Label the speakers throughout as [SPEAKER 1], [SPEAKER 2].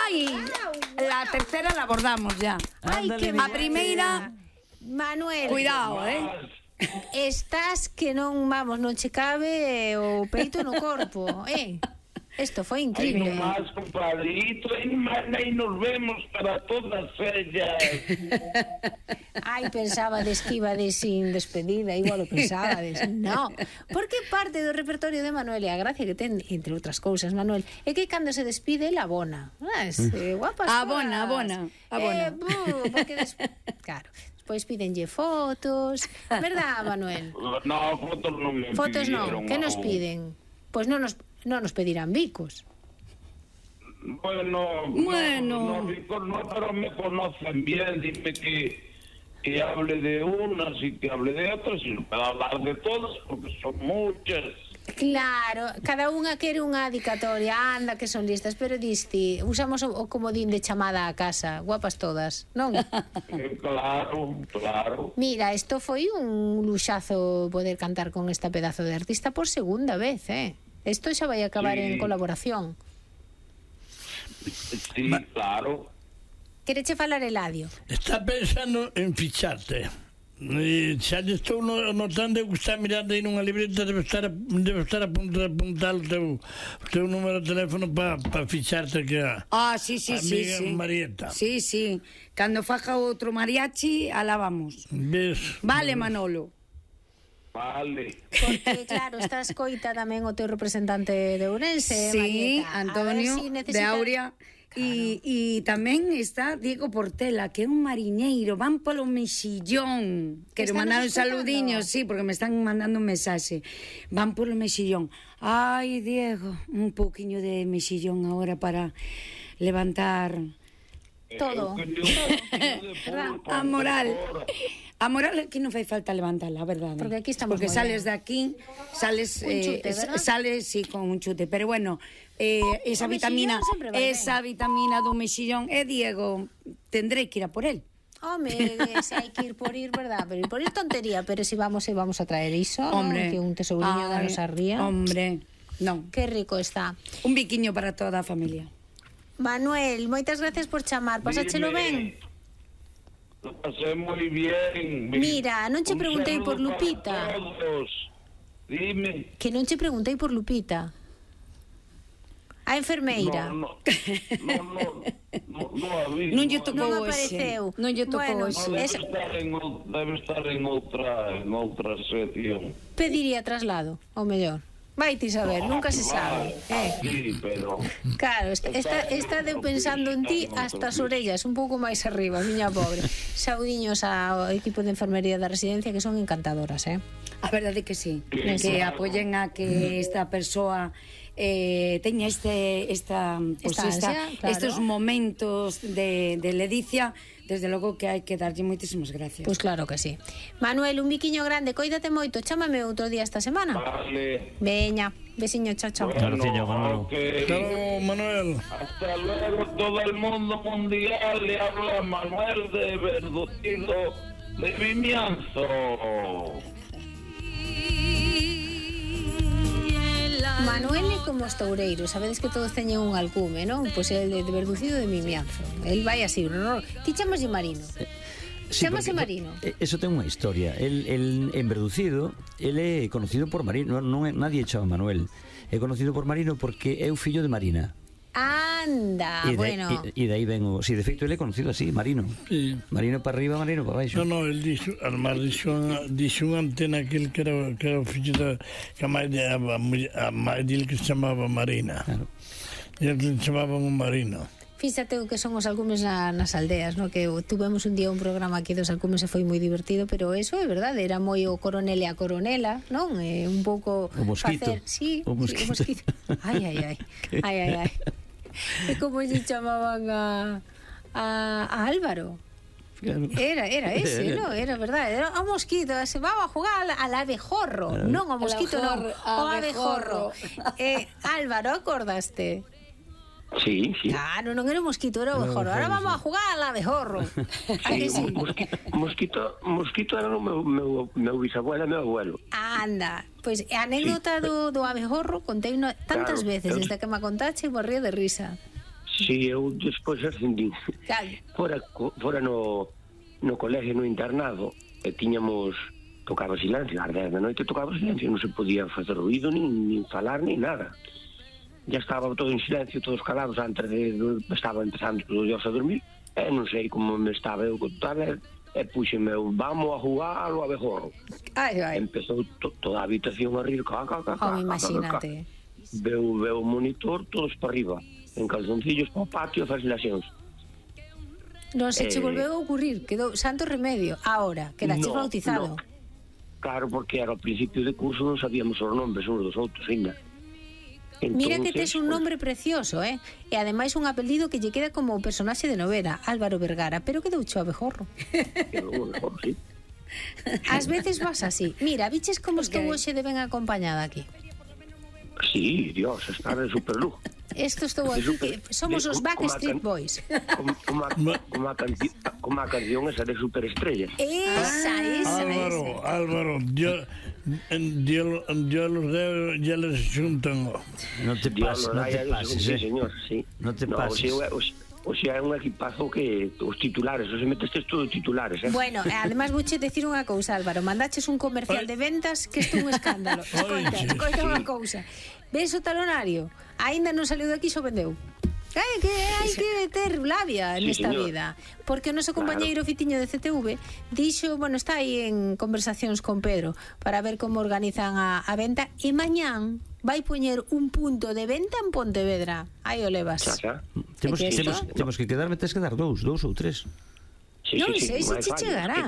[SPEAKER 1] Ai, la tercera la abordamos ya.
[SPEAKER 2] Ai, que
[SPEAKER 1] A primeira,
[SPEAKER 2] Manuel,
[SPEAKER 1] cuidado,
[SPEAKER 2] estás que non, vamos, non che cabe o peito no corpo, Isto foi
[SPEAKER 3] Aí
[SPEAKER 2] increíble.
[SPEAKER 3] nomás, compadrito, aí nos vemos para todas ellas.
[SPEAKER 2] Ai, pensabades que ibades sin despedida, igual o pensabades. No, porque parte do repertorio de Manuel e a gracia que ten, entre outras cousas, Manuel, é que cando se despide, la abona. Guapas
[SPEAKER 1] Abona.
[SPEAKER 2] Porque claro, despois pídenlle fotos, verdad, Manuel?
[SPEAKER 3] No, fotos non me
[SPEAKER 2] Fotos
[SPEAKER 3] pidieron
[SPEAKER 2] non, que nos
[SPEAKER 3] aún.
[SPEAKER 2] piden? Pois non nos pedirán bicos.
[SPEAKER 3] Bueno. No, pero me conocen bien, dime que hable de unas y que hable de otras, y para hablar de todas, porque son muchas.
[SPEAKER 2] Claro, cada unha quere unha dedicatoria, anda que son listas, pero diste, usamos o comodín de chamada a casa, guapas todas, non?
[SPEAKER 3] Claro.
[SPEAKER 2] Mira, isto foi un luxazo poder cantar con esta pedazo de artista por segunda vez, Isto xa vai acabar en colaboración.
[SPEAKER 3] Sí, claro.
[SPEAKER 2] Quereche falar, Eladio?
[SPEAKER 4] Está pensando en ficharte. Xa lle estou notando que está mirando aí nunha libreta, debe estar apuntar o teu número de teléfono para ficharte que a
[SPEAKER 1] sí.
[SPEAKER 4] amiga Marieta.
[SPEAKER 1] Sí. Cando faja outro mariachi, alá vamos.
[SPEAKER 4] ¿Ves?
[SPEAKER 1] Vale, Manolo.
[SPEAKER 3] Vale.
[SPEAKER 2] Porque, claro, está escoita tamén o teu representante de Ourense,
[SPEAKER 1] Sí,
[SPEAKER 2] Marieta.
[SPEAKER 1] Antonio de Aurea. E tamén está Diego Portela, que é un mariñeiro, van polo mexillón. Quero mandar un saludiño, sí, porque me están mandando un mensaxe. Van polo mexillón. Ai, Diego, un pouquiño de mexillón agora para levantar
[SPEAKER 2] todo.
[SPEAKER 1] A moral. A moral aquí non fai falta levantala, a verdade.
[SPEAKER 2] Porque aquí estamos
[SPEAKER 1] porque
[SPEAKER 2] moi
[SPEAKER 1] sales
[SPEAKER 2] ben.
[SPEAKER 1] de aquí, sales
[SPEAKER 2] Un chute, ¿verdad?
[SPEAKER 1] sales sí con un chute, pero bueno, esa
[SPEAKER 2] O
[SPEAKER 1] vitamina,
[SPEAKER 2] mexillón sempre vai
[SPEAKER 1] esa vitamina do mexillón, Diego, tendré que ir a por él.
[SPEAKER 2] Home, se hai que ir por ir, verdad? Pero ir por ir tontería, pero si vamos a traer iso,
[SPEAKER 1] Hombre,
[SPEAKER 2] que un tesouriño da nosa ría.
[SPEAKER 1] Hombre, non.
[SPEAKER 2] Qué rico está.
[SPEAKER 1] Un biquiño para toda a familia.
[SPEAKER 2] Manuel, moitas gracias por chamar. Pasáchelo ben?
[SPEAKER 3] Lo pasé moi bien.
[SPEAKER 2] Mira, non che
[SPEAKER 3] Un
[SPEAKER 2] preguntei por
[SPEAKER 3] saludo
[SPEAKER 2] Lupita.
[SPEAKER 3] para todos. Dime.
[SPEAKER 2] Que non che preguntei por Lupita. A enfermeira.
[SPEAKER 3] No había.
[SPEAKER 1] Non lle tocou
[SPEAKER 2] Non
[SPEAKER 1] hoxe.
[SPEAKER 2] apareceu.
[SPEAKER 1] Non lle tocou
[SPEAKER 2] Bueno,
[SPEAKER 1] hoxe.
[SPEAKER 3] Debe estar en outra sección.
[SPEAKER 2] Pediría traslado, ou mellor. Vai ti saber, nunca se sabe.
[SPEAKER 3] Sí, pero...
[SPEAKER 2] Claro, está deu pensando en ti hasta as orellas, un pouco máis arriba, miña pobre. Saudiños ao equipo de enfermería da residencia, que son encantadoras,
[SPEAKER 1] A verdade que sí, que apoyen a que esta persoa teña estes momentos de ledicia. Desde logo que hai que darlle moitísimas gracias.
[SPEAKER 2] Pois claro que sí. Manuel, un biquiño grande, coídate moito, chámame outro día esta semana.
[SPEAKER 3] Vale.
[SPEAKER 2] Veña, besiño, chao.
[SPEAKER 3] Bueno,
[SPEAKER 4] Manolo.
[SPEAKER 3] okay.
[SPEAKER 4] Hasta luego, Manuel.
[SPEAKER 3] Hasta luego, todo el mundo mundial. Le habla Manuel de Verducido de Vimianzo.
[SPEAKER 2] Manuel é como os toureiros, sabedes que todos teñen un alcume, non? Pois el de Verducido de Vimianzo. El vai así, ti chamaslle Marino.
[SPEAKER 5] Sí,
[SPEAKER 2] Chámase Marino.
[SPEAKER 5] Eso ten unha historia. El en Verducido, el é conocido por Marino, non é nadie chama Manuel. É conocido por Marino porque é o fillo de Marina.
[SPEAKER 2] Anda, bueno.
[SPEAKER 5] E de aí ven o... Si, de feito, ele é conocido así, Marino.
[SPEAKER 4] Sí.
[SPEAKER 5] Marino para arriba, Marino para baixo.
[SPEAKER 4] No, el dixo unha antena aquel que era o fillo da que a mãe dele que se chamaba Marina.
[SPEAKER 5] Claro.
[SPEAKER 4] E el que chamaban un Marino.
[SPEAKER 2] Fíxate o que son os alcumes nas aldeas, no? Que tuvemos un día un programa aquí dos alcumes e foi moi divertido, pero eso é verdade, era moi o coronel e a coronela, non? Un pouco
[SPEAKER 5] o mosquito.
[SPEAKER 2] Sí,
[SPEAKER 5] o mosquito.
[SPEAKER 2] Sí, o mosquito. Ai. E como lle chamaban a Álvaro?
[SPEAKER 5] Claro.
[SPEAKER 2] Era ese, ¿no? Era verdade. Era o mosquito, se vamos a jugar al abejorro. Non, o mosquito non, o abejorro. Álvaro, acordaste?
[SPEAKER 6] Sí.
[SPEAKER 2] Claro, non era o mosquito, era o abejorro. Ahora vamos a jugar al abejorro.
[SPEAKER 6] Sí, mosquito era o meu bisabuelo e meu abuelo.
[SPEAKER 2] Anda, pois a anécdota do abejorro contei tantas veces desde que me contache e morría de risa.
[SPEAKER 6] Si eu despois ascendín. Fora no colegio, no internado, e tiñamos, tocaba silencio, ás 10 da noite tocaba silencio, non se podía facer ruido, nin falar, nin nada. Ya estaba todo en silencio, todos calados, antes estaba empezando todos os dias a dormir, e non sei como me estaba eu contando, e puxeme eu, vamos a jugar ao abejorro. Empezou toda a habitación a rir,
[SPEAKER 2] imagínate.
[SPEAKER 6] Veu o monitor, todos para arriba, en calzoncillos para o patio a fazer laxóns.
[SPEAKER 2] Non se che volveu a ocurrir, quedou santo remedio. Ahora, quedaches bautizado.
[SPEAKER 6] Claro, porque era ao principio de curso non sabíamos os nombres uns dos outros, ainda.
[SPEAKER 2] Mira que tes un nombre precioso, E ademais un apelido que lle queda como personaxe de novela, Álvaro Vergara, pero quedou cho abejorro.
[SPEAKER 6] Quedou abejorro, sí.
[SPEAKER 2] Ás veces vas así. Mira, viches como estou hoxe de ben acompañada aquí.
[SPEAKER 6] Sí, Dios, está de superluz.
[SPEAKER 2] Esto estou aquí, que somos os Backstreet Boys.
[SPEAKER 6] Como a canción esa de Superestrellas.
[SPEAKER 2] Esa.
[SPEAKER 4] Álvaro, yo los dejo, ya les juntan.
[SPEAKER 5] No te pases,
[SPEAKER 6] Sí, señor, sí.
[SPEAKER 5] No te pases.
[SPEAKER 6] O sea, é un equipazo que os titulares, os metestes todos titulares,
[SPEAKER 2] Bueno, además vouche decir unha cousa, Álvaro, mandaches un comercial de ventas que isto é un escándalo. Escoita unha cousa. Ves o talonario? Aínda non saliu daqui, xo vendeu. Hai que ter labia nesta vida. Porque o noso compañeiro Fitiño de CTV dixo, está aí en conversacións con Pedro para ver como organizan a venta, e mañán vai poñer un punto de venta en Pontevedra. Aí o levas.
[SPEAKER 5] Temos que tes que dar dous ou tres.
[SPEAKER 2] Non sei se che chegarán,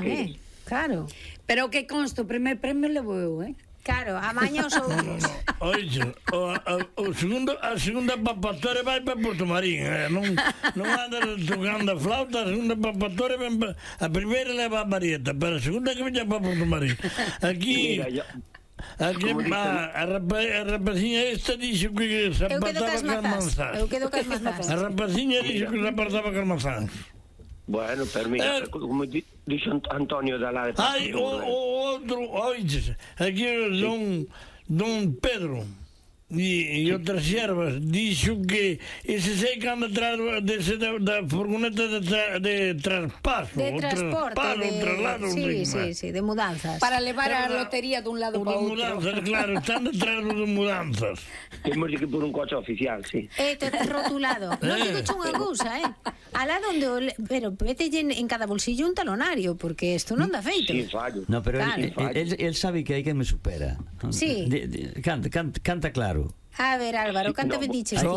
[SPEAKER 2] Claro.
[SPEAKER 1] Pero que consto, o primer premio levo eu,
[SPEAKER 2] Claro, a maña os outros.
[SPEAKER 4] Oixe, a segunda papatoria vai para Porto Marín, non anda tocando a flauta, a segunda papatoria a primeira leva a Marieta, pero a segunda que veña para Porto Marín. Aquí a rapaciña esta dixo que se apartaba con manzás.
[SPEAKER 2] Eu quedo cas mazás.
[SPEAKER 4] A rapaciña dixo que se apartaba con manzás.
[SPEAKER 6] Bueno, pero mira, como dixo Antonio da la de Paso.
[SPEAKER 4] Ai, o outro, oiches, aquí don Pedro e outras xervas dixo que ese sei que anda atrás da furgoneta de traspaso,
[SPEAKER 2] de transporte,
[SPEAKER 4] traslado,
[SPEAKER 2] sí, de mudanzas,
[SPEAKER 1] para levar a lotería dun lado para outro.
[SPEAKER 4] Mudanzas, claro, están detrás de mudanzas.
[SPEAKER 6] Temos que por un coche oficial, sí.
[SPEAKER 2] Rotulado. Non digo cho unha cousa, alá donde pero mételle en cada bolsillo un talonario, porque isto non dá feito.
[SPEAKER 6] Sí, fallo.
[SPEAKER 5] No, pero él sabe que hai quen me supera.
[SPEAKER 2] Sí.
[SPEAKER 5] Canta claro.
[SPEAKER 2] A ver, Álvaro, canta ben diches ti.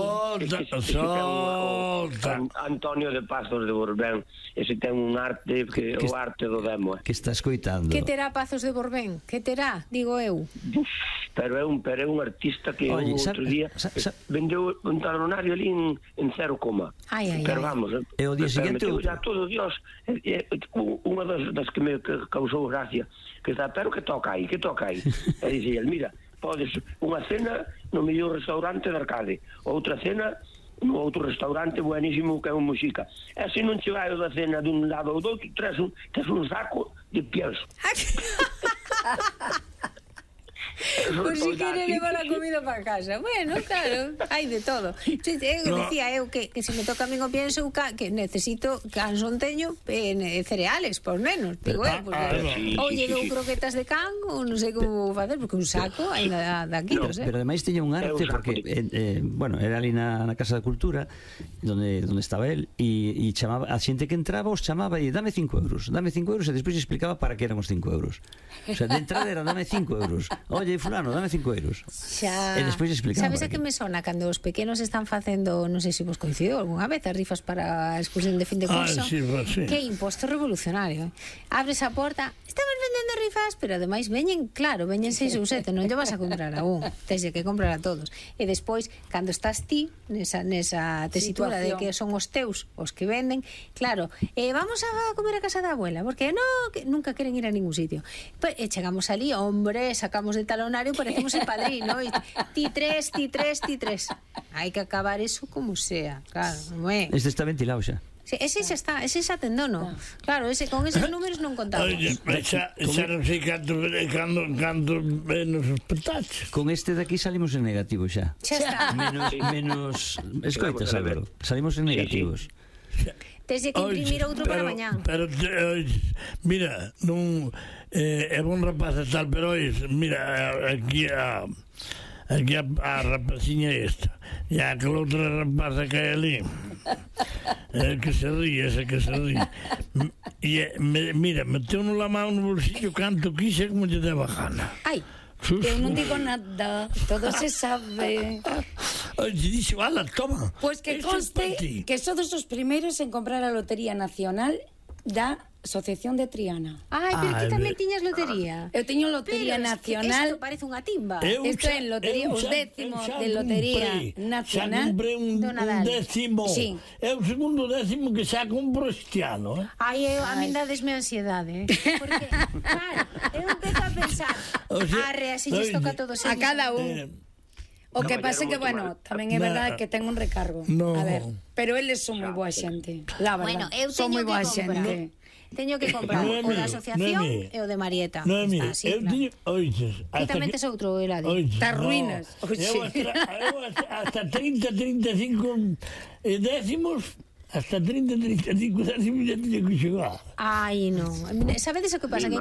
[SPEAKER 4] Solta.
[SPEAKER 6] Antonio de Pazos de Borbén, ese ten un arte que o arte do demo.
[SPEAKER 5] Que está escoitando.
[SPEAKER 2] Que terá Pazos de Borbén? Que terá, digo eu.
[SPEAKER 6] Pero é un artista que outro día vendeu un talonario ali en 0, pero vamos,
[SPEAKER 5] e o día seguinte
[SPEAKER 6] ya todo Dios, unha das que me causou gracia, que está, pero que toca aí, e dice el, mira, podes unha cena no mellor restaurante de Arcade, outra cena no outro restaurante buenísimo que é un Muxica, e se non che vai o da cena dun lado ou do outro, tes un saco de pienso.
[SPEAKER 2] Por si quere levar a comida para casa. Bueno, claro, hai de todo. Decía eu que se me toca a min o pienso que necesito cansón teño cereales, por menos. Digo, porque oye, dou croquetas de can ou non sei como facer, porque un saco ainda da quilos,
[SPEAKER 5] Pero ademais teña un arte, porque era ali na Casa da Cultura donde estaba él, e chamaba a xente que entraba, os chamaba e dame 5 euros, e despois explicaba para que eran os 5 euros. O sea, de entrada era dame 5 euros. Oye, fulano, dame 5 euros. E despois explicaba.
[SPEAKER 2] Sabes a que me sona cando os pequenos están facendo, non sei se vos coincidiu algunha vez, as rifas para a excursión de fin de curso?
[SPEAKER 4] Sí.
[SPEAKER 2] Que imposto revolucionario. Abres a porta, estamos vendendo rifas, pero ademais veñen 6 ou 7, non lle vas a comprar a un, tens que comprar a todos. E despois, cando estás ti nesa tesitura de que son os teus os que venden, claro, vamos a comer a casa da abuela, porque que nunca queren ir a ningún sitio. E chegamos ali, hombre, sacamos de talonario, parecemos el padrino, ti tres. Hai que acabar eso como sea, claro, non é?
[SPEAKER 5] Este está ventilado xa.
[SPEAKER 2] Sí, ese xa tendono. Claro, con eses números non contamos.
[SPEAKER 4] Oye, xa non sei canto nos espetaches.
[SPEAKER 5] Con este de aquí salimos en negativo xa.
[SPEAKER 2] Xa está.
[SPEAKER 5] Menos escoitas, Álvaro. Salimos en negativos.
[SPEAKER 2] Tens que imprimir outro para mañán.
[SPEAKER 4] Pero, mira, non é bon rapaz e tal, pero mira, aquí a rapaciña esta e aquela outra rapaza que hai ali que se ríe e mira, meteu la mão no bolsillo canto quise como lle deba gana.
[SPEAKER 2] Ai,
[SPEAKER 1] eu non digo nada, todo se sabe.
[SPEAKER 4] Oye, dixe, ala, toma.
[SPEAKER 1] Pues que conste que sodes os primeiros en comprar a Lotería Nacional da Asociación de Triana.
[SPEAKER 2] Ai, pero ti tamén tiñas lotería.
[SPEAKER 1] Eu teño Lotería Nacional.
[SPEAKER 2] Isto parece unha timba.
[SPEAKER 1] Isto é lotería, os décimos de Lotería Nacional.
[SPEAKER 4] Xa comprei un décimo.
[SPEAKER 1] Sí.
[SPEAKER 4] É o segundo décimo que xa compro este ano.
[SPEAKER 2] Ai, a min dadesme ansiedade. Porque, claro, eu empezo a pensar, arre, así lles toca a todos.
[SPEAKER 1] A cada un. O que pasa é que, bueno, tamén é verdade que ten un recargo. A ver, pero eles son moi boa xente. La verdad, son moi boa xente.
[SPEAKER 2] Teño que comprar o da asociación e o de Marieta.
[SPEAKER 4] Noemi, eu tiño, oiches,
[SPEAKER 2] e tamén tes outro, Eladio.Tas
[SPEAKER 1] ruínas.
[SPEAKER 4] Eu hasta 30-35 décimos, hasta 30-35 décimos ya tiño que xogar.
[SPEAKER 2] Ai, non. Sabedes o que pasa? Que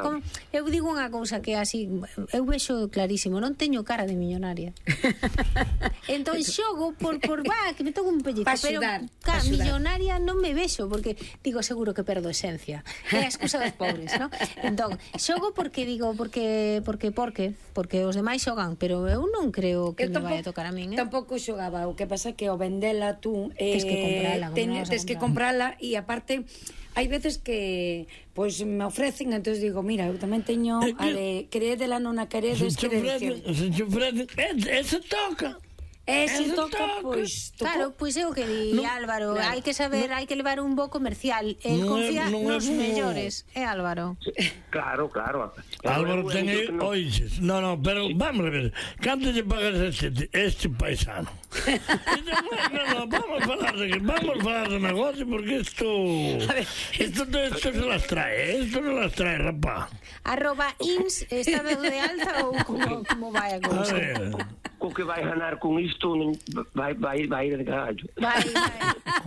[SPEAKER 2] eu digo unha cousa que así, eu vexo clarísimo, non teño cara de millonaria. Entón xogo por que me toco un pellizo, pero cara, millonaria non me vexo, porque digo, seguro que perdo esencia. É a excusa dos pobres, non? Entón, xogo porque digo, porque os demais xogan, pero eu non creo que me vai a tocar a min,
[SPEAKER 1] Tampouco xogaba, o que pasa que o vendela tú,
[SPEAKER 2] tes que comprala,
[SPEAKER 1] tes que comprala, e aparte hai veces que pois me ofrecen, entonces digo, mira, eu tamén teño a de creedela, non a queredes,
[SPEAKER 4] se te ofrecen, ese toca.
[SPEAKER 1] Se toca, pois...
[SPEAKER 2] Claro, pois é o que di Álvaro, hai que saber, hai que levar un bo comercial, el confía nos mellores, Álvaro.
[SPEAKER 6] Claro.
[SPEAKER 4] Álvaro ten aí, oiches, no, pero vamos a ver, canto lle pagas este paisano? No, vamos a falar de negocio, porque esto se las trae, rapaz.
[SPEAKER 2] @ins, está dado de alta ou como vai a cousa?
[SPEAKER 6] Co que vai ganar con isto vai ir de carallo.
[SPEAKER 2] Vai.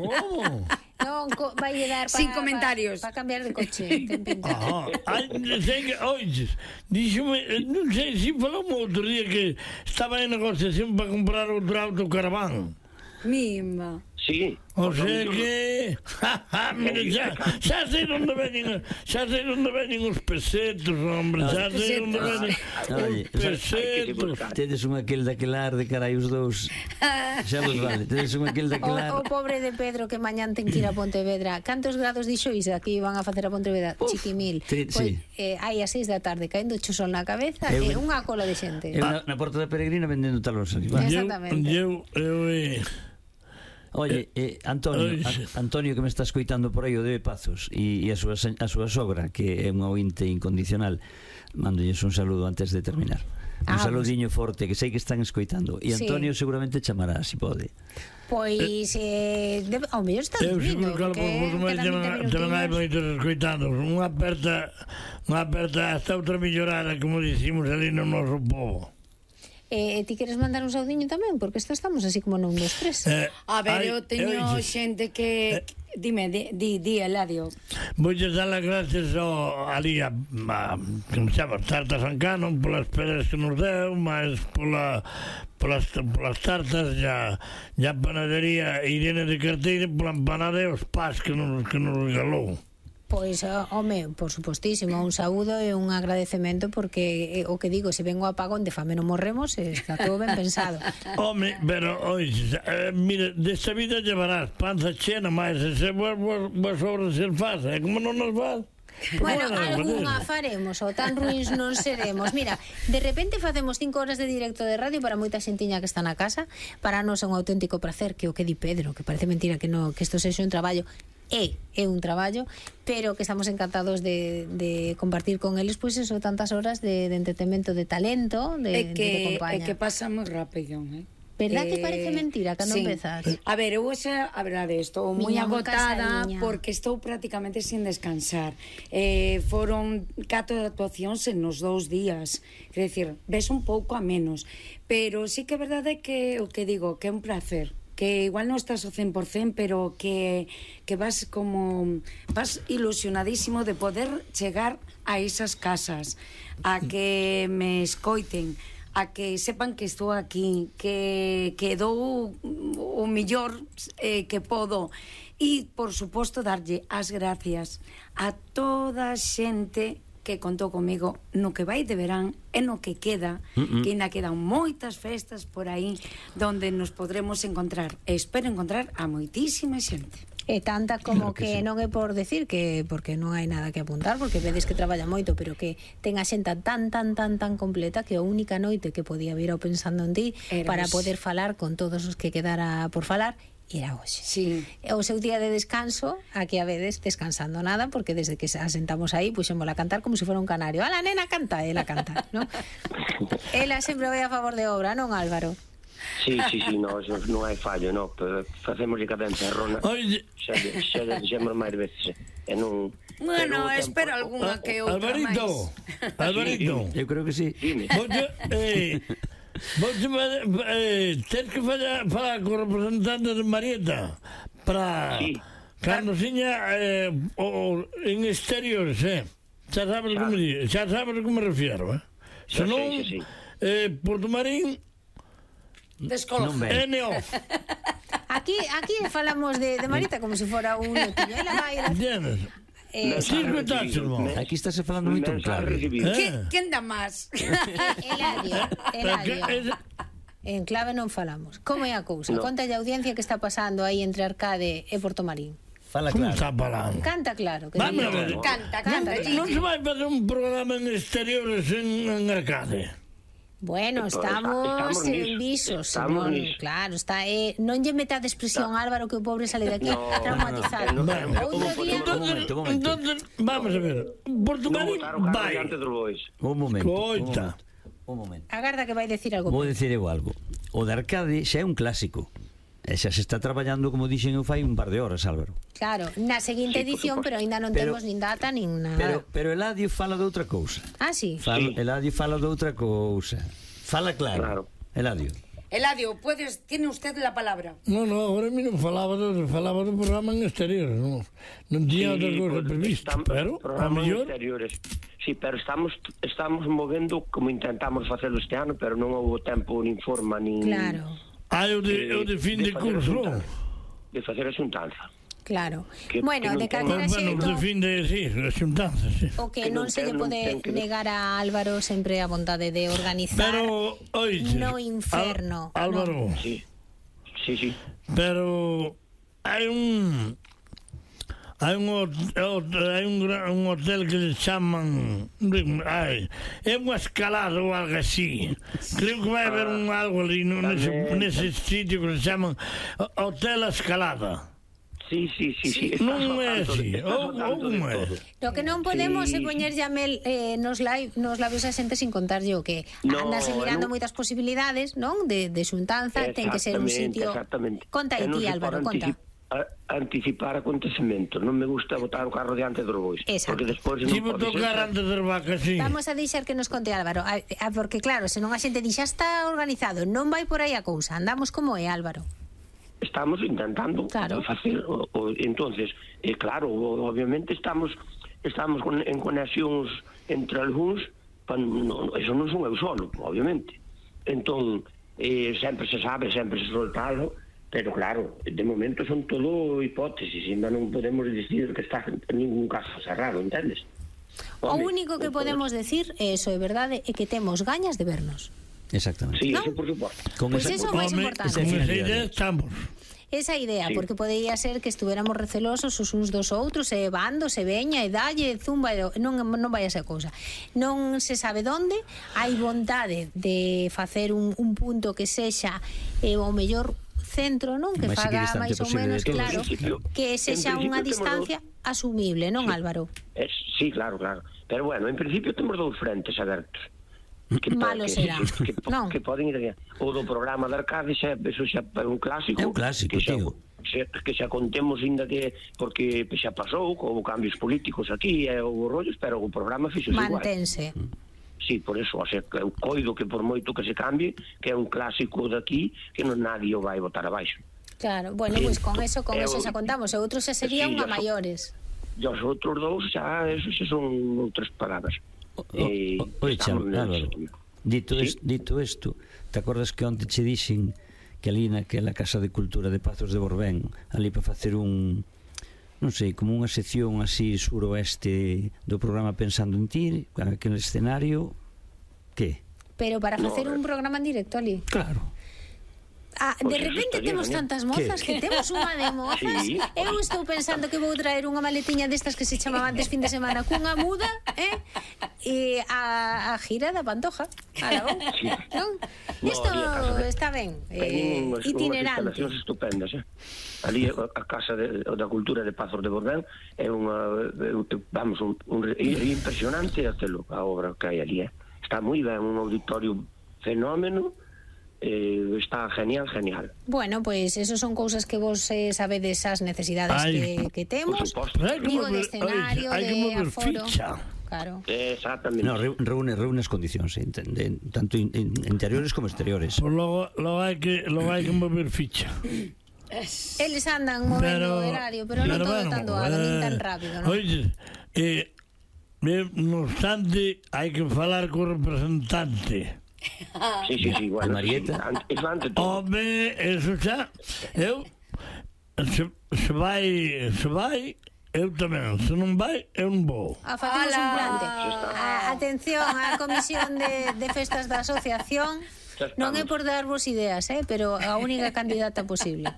[SPEAKER 4] Como?
[SPEAKER 2] Non, vai dar para...
[SPEAKER 1] Sin comentarios.
[SPEAKER 2] Para cambiar de coche, ten pinta.
[SPEAKER 4] Oiches, díxome, non sei se falou outro día que estaba en negociación para comprar outro autocaraván.
[SPEAKER 1] Mima.
[SPEAKER 6] Sí.
[SPEAKER 4] O sea que... Mira, xa sei onde veñen os pesetos, hombre, xa sei onde veñen os pesetos.
[SPEAKER 5] Tedes un aquel daquelar de carai os dous. Xa vos vale, tedes un aquel daquelar.
[SPEAKER 2] O pobre de Pedro que mañán ten que ir a Pontevedra. Cantos grados dixo Isa que iban a facer a Pontevedra? Chiquimil.
[SPEAKER 5] Sí.
[SPEAKER 2] Hai a 6 da tarde caendo o sol na cabeza e unha cola de xente.
[SPEAKER 5] Eu na porta da Peregrina vendendo talos.
[SPEAKER 2] Exactamente.
[SPEAKER 5] Oye, Antonio que me está escoitando por aí o de Pazos e a súa sogra, que é unha ointe incondicional, mandolles un saludo antes de terminar. Un saludiño forte, que sei que están escoitando. E Antonio seguramente chamará, se pode.
[SPEAKER 2] Pois, ao mellor está dormindo.
[SPEAKER 4] Eu seguro que tamén hai moitos escoitando. Unha aperta hasta outra millorada, como dicimos ali no noso povo.
[SPEAKER 2] Ti queres mandar un saudiño tamén? Porque estamos así como non dos tres.
[SPEAKER 1] A ver, eu teño xente que... Dime, di, Eladio.
[SPEAKER 4] Voulles dar as gracias ali a como se chama, Tartas Ancano, polas peras que nos deu, máis polas tartas, e a panadería Irene de Carteira, pola empanada e os pás que nos regalou.
[SPEAKER 2] Pois, home, por supostísimo, un saúdo e un agradecemento, porque o que digo, se vengo a apagón de fame non morremos, está todo ben pensado.
[SPEAKER 4] Home, pero, oixe, mire, desta vida llevarás panza chena, máis se vos obras se faz, como non nos vas?
[SPEAKER 2] Bueno, algunha faremos, ou tan ruins non seremos. Mira, de repente facemos 5 horas de directo de radio para moita xentiña que está na casa. Para nós é un auténtico placer, que o que di Pedro, que parece mentira que isto sexa un traballo. É un traballo, pero que estamos encantados de compartir con eles, pois tantas horas de entretenimento, de talento, de compañía.
[SPEAKER 1] É que pasa moi rápido,
[SPEAKER 2] Verdad que parece mentira cando empezas?
[SPEAKER 1] A ver, eu xa, a verdade, estou moi
[SPEAKER 2] Miña, moi
[SPEAKER 1] agotada
[SPEAKER 2] casadiña.
[SPEAKER 1] porque estou prácticamente sin descansar. Foron 4 actuacións en nos 2 días. Quer decir, ves un pouco a menos. Pero sí que é verdade que o que digo, que é un placer, que igual non estás ao 100%, pero que vas ilusionadísimo de poder chegar a esas casas, a que me escoiten, a que sepan que estou aquí, que dou o mellor que podo, e, por suposto, darlle as gracias a toda a xente que contou comigo no que vai de verán e no que queda, que ainda quedan moitas festas por aí donde nos podremos encontrar. E espero encontrar a moitísima xente.
[SPEAKER 2] E tanta como
[SPEAKER 5] Claro que
[SPEAKER 2] que
[SPEAKER 5] sí.
[SPEAKER 2] non é por decir que porque non hai nada que apuntar, porque vedes que traballa moito, pero que ten a xenta tan completa que a única noite que podía vir ao pensando en ti
[SPEAKER 1] Era
[SPEAKER 2] para
[SPEAKER 1] hoxe.
[SPEAKER 2] poder falar con todos os que quedara por falar era hoxe.
[SPEAKER 1] Sí.
[SPEAKER 2] O seu día de descanso, aquí a vedes descansando nada, porque desde que asentamos aí puxémola a cantar como se fora un canario. A la nena canta, ela canta, ¿no? Ela sempre vai a favor de obra, non, Álvaro?
[SPEAKER 6] Sí, no, eso non hai fallo, no, pero facemos de cada encerrona.
[SPEAKER 4] Oye,
[SPEAKER 6] Xa dixemos máis veces, e non...
[SPEAKER 1] Bueno,
[SPEAKER 6] pero o
[SPEAKER 1] espero
[SPEAKER 6] tempo-
[SPEAKER 1] algunha que outra
[SPEAKER 4] Alvarito,
[SPEAKER 1] máis.
[SPEAKER 4] Alvarito,
[SPEAKER 5] Eu creo que sí.
[SPEAKER 6] Dime.
[SPEAKER 4] Vos tens que falar co representante de Marieta para
[SPEAKER 6] Sí.
[SPEAKER 4] cando siña en exteriores, xa sabes como me refiero,
[SPEAKER 6] Xa
[SPEAKER 4] senón
[SPEAKER 6] sei.
[SPEAKER 4] Porto Marín
[SPEAKER 5] Non ven.
[SPEAKER 4] NO.
[SPEAKER 2] Aquí falamos de Marita como se fora un notillo. Ela vai...
[SPEAKER 4] Entiendes? Sí, escutáchelo.
[SPEAKER 5] Aquí estáse falando moito en clave.
[SPEAKER 1] Quen dá máis?
[SPEAKER 2] Eladio. En clave non falamos. Como é a cousa?
[SPEAKER 6] No.
[SPEAKER 2] Conta a audiencia que está pasando aí entre Arcade e Porto Marín.
[SPEAKER 5] Fala
[SPEAKER 4] Como
[SPEAKER 5] claro.
[SPEAKER 4] está falando?
[SPEAKER 2] Canta claro. Que
[SPEAKER 4] Vamos a
[SPEAKER 2] diga.
[SPEAKER 4] ver.
[SPEAKER 1] Canta,
[SPEAKER 4] Non se vai facer un programa en exteriores en Arcade.
[SPEAKER 2] Bueno,
[SPEAKER 6] Pues
[SPEAKER 2] estamos en
[SPEAKER 6] niso,
[SPEAKER 2] visos,
[SPEAKER 6] estamos
[SPEAKER 2] non,
[SPEAKER 6] niso.
[SPEAKER 2] claro, está non lle metade expresión Álvaro que o pobre sale de aquí traumatizado.
[SPEAKER 6] no,
[SPEAKER 2] Outro día
[SPEAKER 5] Un momento.
[SPEAKER 4] Entonces, vamos a ver. Porto
[SPEAKER 6] Non
[SPEAKER 4] Marín
[SPEAKER 6] botar o carro
[SPEAKER 4] vai.
[SPEAKER 6] diante dos bois.
[SPEAKER 5] Un momento.
[SPEAKER 4] Coita.
[SPEAKER 5] Un momento.
[SPEAKER 2] agarda que vai decir algo.
[SPEAKER 5] Vou dicir eu algo. O de Arcade xa é un clásico. E xa se está traballando, como dixen eu fai un par de horas, Álvaro.
[SPEAKER 2] Claro, na seguinte
[SPEAKER 6] Sí, por
[SPEAKER 2] edición,
[SPEAKER 6] suposto.
[SPEAKER 2] pero aínda non
[SPEAKER 5] Pero-
[SPEAKER 2] temos nin data nin nada.
[SPEAKER 5] Pero Eladio fala de outra cousa.
[SPEAKER 2] Ah, sí.
[SPEAKER 6] Sí.
[SPEAKER 5] Eladio fala de outra cousa. Fala claro.
[SPEAKER 6] Claro.
[SPEAKER 5] Eladio.
[SPEAKER 1] Eladio, tiene usted la palabra.
[SPEAKER 4] No, ahora mismo falaba do programa en exteriores, non tiña outra cousa prevista, pero a
[SPEAKER 6] programas
[SPEAKER 4] mellor
[SPEAKER 6] exteriores. Sí, pero estamos movendo como intentamos facelo este ano, pero non houve tempo nin forma nin
[SPEAKER 2] Claro,
[SPEAKER 4] hai o de fin de
[SPEAKER 6] facer
[SPEAKER 4] curso.
[SPEAKER 6] de facer a xuntanza.
[SPEAKER 2] claro.
[SPEAKER 6] Que-
[SPEAKER 2] Bueno,
[SPEAKER 6] que non
[SPEAKER 2] de
[SPEAKER 6] ten-
[SPEAKER 2] calquera
[SPEAKER 4] Bueno, de
[SPEAKER 2] xeito,
[SPEAKER 4] fin de, sí, a xuntanza, sí.
[SPEAKER 2] o que
[SPEAKER 6] que
[SPEAKER 2] non
[SPEAKER 6] non
[SPEAKER 2] se lle
[SPEAKER 6] ten- non
[SPEAKER 2] pode
[SPEAKER 6] ten que-
[SPEAKER 2] negar a Álvaro sempre a vontade de organizar
[SPEAKER 4] Pero, oíste,
[SPEAKER 2] no inferno,
[SPEAKER 4] Álvaro,
[SPEAKER 6] Sí.
[SPEAKER 4] pero hai un hotel que se chaman é unha escalada ou algo así. Creo que vai haber algo ali nese sitio que se chaman Hotel Escalada.
[SPEAKER 6] Sí.
[SPEAKER 4] Non é así, ou como é?
[SPEAKER 2] Lo que non podemos
[SPEAKER 6] Sí.
[SPEAKER 2] é poñer ya mel nos labios a xente sin contarlle o que
[SPEAKER 6] No,
[SPEAKER 2] andase mirando
[SPEAKER 6] non.
[SPEAKER 2] moitas posibilidades, non? De xuntanza, ten que ser un sitio.
[SPEAKER 6] Exactamente.
[SPEAKER 2] Conta aí
[SPEAKER 6] E non
[SPEAKER 2] ti,
[SPEAKER 6] se
[SPEAKER 2] Álvaro,
[SPEAKER 6] pode
[SPEAKER 2] conta.
[SPEAKER 6] anticipar acontecementos. Non me gusta botar o carro diante dos bois.
[SPEAKER 2] Exacto.
[SPEAKER 6] Porque despois non
[SPEAKER 4] Tivo
[SPEAKER 6] pode
[SPEAKER 4] tocar
[SPEAKER 6] ser.
[SPEAKER 4] antes das vacas, sí.
[SPEAKER 2] Vamos a deixar que nos conte Álvaro, porque claro, senón a xente di xa está organizado, non vai por aí a cousa, andamos como é, Álvaro.
[SPEAKER 6] Estamos intentando
[SPEAKER 2] Claro.
[SPEAKER 6] facer entonces, claro, obviamente estamos en conexións entre algúns, eso non son eu solo, obviamente. Entón, sempre se sabe, sempre se soltalo, pero claro, de momento son todo hipótesis, ainda non podemos dicir que está en ningún caso cerrado, entendes?
[SPEAKER 2] O
[SPEAKER 6] Home,
[SPEAKER 2] único que podemos decir, eso é verdade, é que temos gañas de vernos.
[SPEAKER 5] Exactamente.
[SPEAKER 6] Sí,
[SPEAKER 2] ¿no?
[SPEAKER 6] eso por suposto.
[SPEAKER 5] Con
[SPEAKER 2] Pues
[SPEAKER 5] esa-
[SPEAKER 2] eso é o máis
[SPEAKER 4] Home,
[SPEAKER 2] importante.
[SPEAKER 4] con esa
[SPEAKER 5] finalidade.
[SPEAKER 4] idea estamos.
[SPEAKER 2] Esa idea,
[SPEAKER 6] Sí.
[SPEAKER 2] porque podería ser que estuéramos recelosos os uns dos outros, e bando, se veña, e dalle, zumba, non vai a ser cousa. Non se sabe onde, hai vontade de facer un punto que sexa o mellor centro, non? Que
[SPEAKER 5] Mais
[SPEAKER 2] faga
[SPEAKER 5] equidistante
[SPEAKER 2] máis ou
[SPEAKER 5] posible
[SPEAKER 2] menos,
[SPEAKER 5] de todos.
[SPEAKER 2] claro,
[SPEAKER 6] En principio-
[SPEAKER 2] que sexa
[SPEAKER 6] en
[SPEAKER 2] unha
[SPEAKER 6] principio
[SPEAKER 2] distancia asumible, non, Álvaro?
[SPEAKER 6] Sí, claro. Pero bueno, en principio temos dous frentes abertos.
[SPEAKER 2] malo será.
[SPEAKER 6] Que poden ir o do programa de Arcade eso xa é un clásico.
[SPEAKER 5] É un clásico, tío.
[SPEAKER 6] Que xa contemos ainda que porque xa pasou con cambios políticos aquí e o rollos, pero o programa fixo igual.
[SPEAKER 2] Mantense.
[SPEAKER 6] Sí, por eso, o sea, eu coido que por moito que se cambie, que é un clásico daqui, que non nadie o vai botar abaixo.
[SPEAKER 2] Claro, bueno, pois con eso xa contamos, e outros xa serían a maiores.
[SPEAKER 6] E os outros dous xa, eso xa son outras palabras.
[SPEAKER 5] Oye, Álvaro, dito isto, te acordas que onte che dixen que ali naquela Casa de Cultura de Pazos de Borbén, ali para facer un, non sei, como unha sección así suroeste do programa Pensando en Ti, aquele escenario, que?
[SPEAKER 2] Pero para facer un programa en directo ali.
[SPEAKER 5] Claro.
[SPEAKER 2] De repente temos tantas mozas que temos unha de mozas. Eu estou pensando que vou traer unha maletiña destas que se chamaba antes fin de semana cunha muda, e a gira da Pantoja Aragón, non? Isto está ben, itinerante.
[SPEAKER 6] Instalacións estupendas, ali a Casa da Cultura de Pazos de Borbén é unha, vamos, impresionante aquilo, a obra que hai ali, está moi ben, un auditorio fenómeno. Está genial.
[SPEAKER 2] Bueno, pues esos son cousas que vos sabedes as necesidades que temos. Digo, de escenario, de aforo. Claro.
[SPEAKER 6] Exactamente.
[SPEAKER 5] No, reúne as condicións, tanto interiores como exteriores.
[SPEAKER 4] Pues logo hai que mover ficha.
[SPEAKER 2] Eles andan movendo o horario, pero non todo tan doado, nin tan rápido, non?
[SPEAKER 4] Oye, no obstante, hai que falar co representante.
[SPEAKER 6] Sí, bueno,
[SPEAKER 5] Marieta.
[SPEAKER 4] Home, eso xa. Eu se vai, eu tamén. Se non vai, eu non vou.
[SPEAKER 2] Facemos un plante. Atención á comisión de festas da asociación. Non é por darvos ideas, pero a única candidata posible.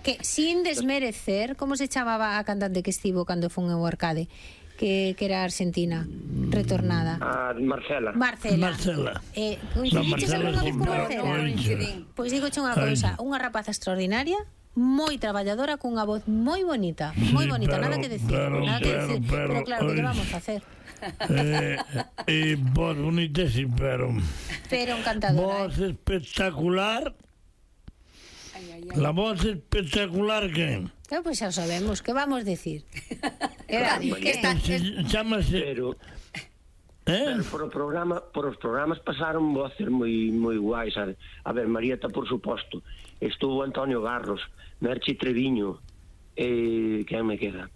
[SPEAKER 2] Que sin desmerecer, como se chamaba a cantante que estivo cando fun ao Arcade? Que era argentina, retornada.
[SPEAKER 6] Marcela.
[SPEAKER 2] Coincidiches algunha vez con Marcela? Pois digoche unha cousa, unha rapaza extraordinaria, moi traballadora, cunha voz moi bonita, nada que decir, pero claro, que lle vamos a hacer?
[SPEAKER 4] Voz bonita, sí, pero
[SPEAKER 2] encantadora.
[SPEAKER 4] Voz espectacular. La voz espectacular que...
[SPEAKER 2] Pois xa sabemos, que vamos decir?
[SPEAKER 4] Chámase...
[SPEAKER 6] Pero por os programas pasaron voces moi guais, sabe? A ver, Marieta, por suposto, estuvo Antonio Garros, Merchi Treviño, quen me queda?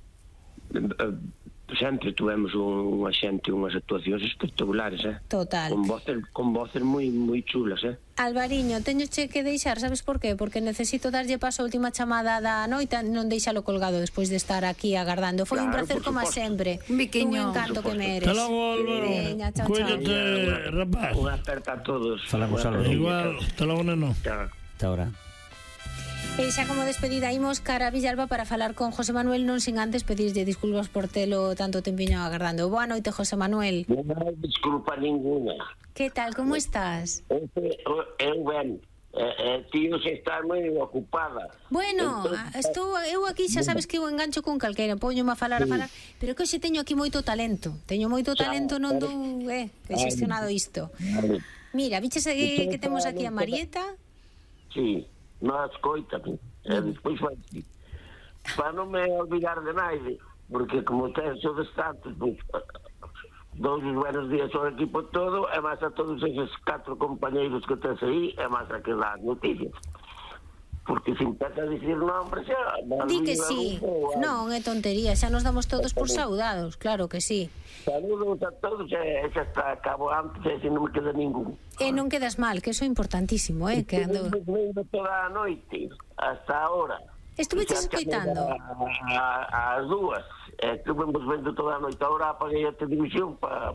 [SPEAKER 6] Sempre tuvemos unha xente, unhas actuacións espectaculares,
[SPEAKER 2] Total.
[SPEAKER 6] Con voces moi chulas,
[SPEAKER 2] Alvariño, teñoche que deixar, sabes por qué? Porque necesito darlle paso a última chamada da noite, non deixalo colgado despois de estar aquí agardando. Foi un placer como sempre. Un encanto que me eres.
[SPEAKER 4] Hasta logo, Álvaro. Cuídate, rapaz.
[SPEAKER 6] Unha aperta a todos.
[SPEAKER 5] Falamos, Álvaro.
[SPEAKER 4] Igual, hasta logo, neno.
[SPEAKER 5] Hasta ahora.
[SPEAKER 2] E xa como despedida imos cara a Villalba para falar con José Manuel, non sin antes pedirlle disculpas por telo tanto tempiño agardando. Boa noite, José Manuel.
[SPEAKER 6] Non hai disculpa ninguna.
[SPEAKER 2] Que tal, como estás?
[SPEAKER 6] Eu ben. Tío, se está moi ocupada.
[SPEAKER 2] Bueno, eu aquí xa sabes que eu engancho con calquera, poñome a falar, pero que hoxe teño aquí moito talento. Non dou que xestionado isto. Mira, viches que temos aquí a Marieta?
[SPEAKER 6] Sí. Non escoitame, despois vai para non me olvidar de naide, porque como tenso de tantos, dous buenos días ao equipo todo, e máis a todos esos 4 compañeiros que tens aí, e máis a que las noticias. Porque se empeza a dicir nombres xa...
[SPEAKER 2] Di que sí, non, é tontería, xa nos damos todos por saudados, claro que sí.
[SPEAKER 6] Saludos a todos, e xa está, acabo antes, e non me queda ningún.
[SPEAKER 2] E non quedas mal, que eso é importantísimo, que ando...
[SPEAKER 6] Estive toda a noite, hasta ahora.
[SPEAKER 2] Estuveches escoitando?
[SPEAKER 6] As dúas, estuvemos vendo toda a noite, agora apaguei a televisión para